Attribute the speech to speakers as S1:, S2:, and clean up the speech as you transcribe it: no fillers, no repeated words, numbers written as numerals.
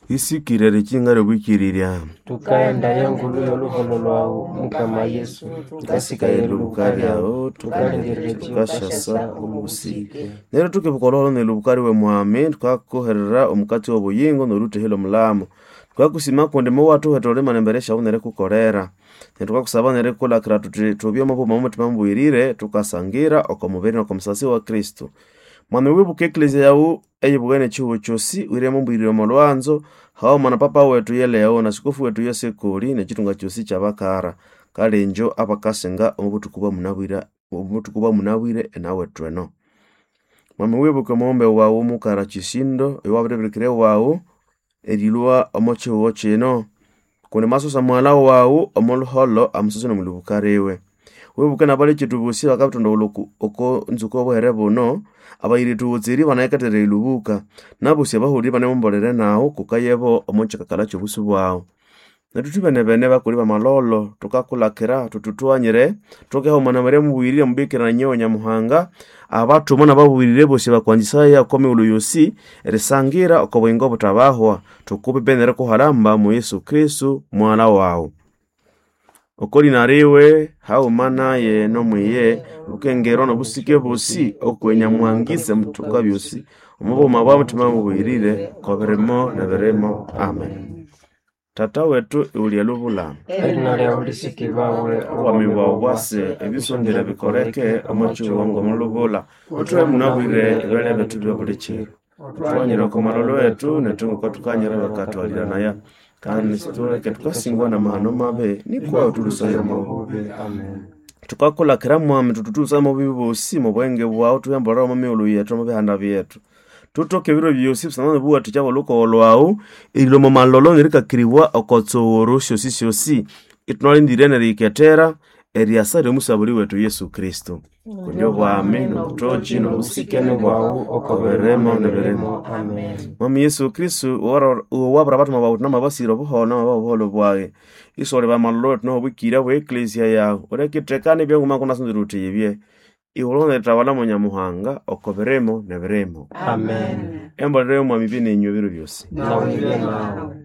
S1: Isikire erikinga ly'obwikirirya.
S2: Tukaenda yengulu y'oluholo lwawu Mukama Yesu,
S1: Tukasikaye elubuka lyawu,
S2: tukalindirira
S1: tukashasa
S2: obusike.
S1: Neryo tukibuka olhuholo n'elubuka liwe mwami, tukakuherera omukatsi w'obuyingo n'olhuthehelo omulamo. Tukakusima kundi muwathuheta olhimana embere syawu nerikukolera. Neryo tukakusaba nerikulakira thuthi thubye omo bughuma bw'omuthima mubuyirire, tukasangira oko mubiri n'oko musasi wa Kristo. Mwami wibuke eklezia yawu eyibugene ekihugho kyosi, wiremo mbuyirire omo lwanzo, haghuma na papa wethu ye Leo na sikofu wethu ye Sekoli n'ekithunga kyosi ky'abakara. Kale injo abakasenga omo buthuku bwamunabwire obuthuku bwamunabwire enawethu eno. Mwami wibuke omughombe wawu mukara Kisindo owabiribirikira wawu erilhwa omo kihugho kino. Kundi mwasusa mughalha wawu omo luholo amusose n'omulhubuka liwe. Wibuke n'abalekethu bosi abakabithondawulha oku oko nzuko y'obuhere buno, abayira ethubutseri banayikatherera erilhubuka, n'abosi abahulire ibanemumbolere nawu kukayebo omo kyikakala ky'obusu bwawu. Nethu thwibene-bene bakuli b'amalholo thukakulakira thuthi thughanyire thukeha na Maria mubuyirire omubikira na nyowe Nyamuhanga, abathuma n'ababuyirire bosi bakwanzisaya oko mighulhu yosi erisangira oko buyingo obuthabahwa. Thukupipe nerikuhalamba mu Yesu Kristo mughalha wawu. Oko lina liwe haghuma naye n'omwiye lukengerwa n'obusike bosi okwe Nyamuhangise muthuka byosi omo bughuma bwa muthima mubuyirire ko birimo n'ebirimo. Amen. Tata wethu iwulya lubulama.
S2: Erina lyawu lisikibawe,
S1: Obwami bwawu bwase, ebisondere bikoleke omo kihugho ng'omo lubula. Uthuhe munabwire ebyalya bethu bya buli kiro. Uthughanyire oko malholo wethu nethu ngoko thukanyira abakathwalhiranaya. Kandi situleke thukasingwa n'amahano mabi, nikwa uthulusaya omo bubi.
S2: Amen.
S1: Thukakulakira mwami thuthuthusa omo bubi bosi omo bwenge bwawu thuyambolere omo mighulhu yethu omo bihanda byethu. Thuthoke ebiro byosi busana n'obuwathikya bw'olhukogo lhwawu, erilhwa omo malholo nerikakiribwa oko tsughuru syosisyosi. Ithunalindire neriyikethera eryasa ly'omusabuli wethu Yesu Kristo. Kundi obwami n'obuthoki n'obusikene bwawu
S2: oko
S1: birimo n'ebirimo.
S2: Amen.
S1: Mwami Yesu Kristo owabura abathuma bawu namabasira obuholo namabaha obuholo bwayi. Isole bamalholo wethu n'obwikirya bwe eklezia yawu. Ulekithekana ebyanguma kunasunzire uthi yibye. Iwulho neritawala mo Nyamuhanga oko birimo n'ebirimo.
S2: Amen.
S1: Embolero y'omwami ibye nenywe ebiro byosi.
S2: Nawe ibe nawe.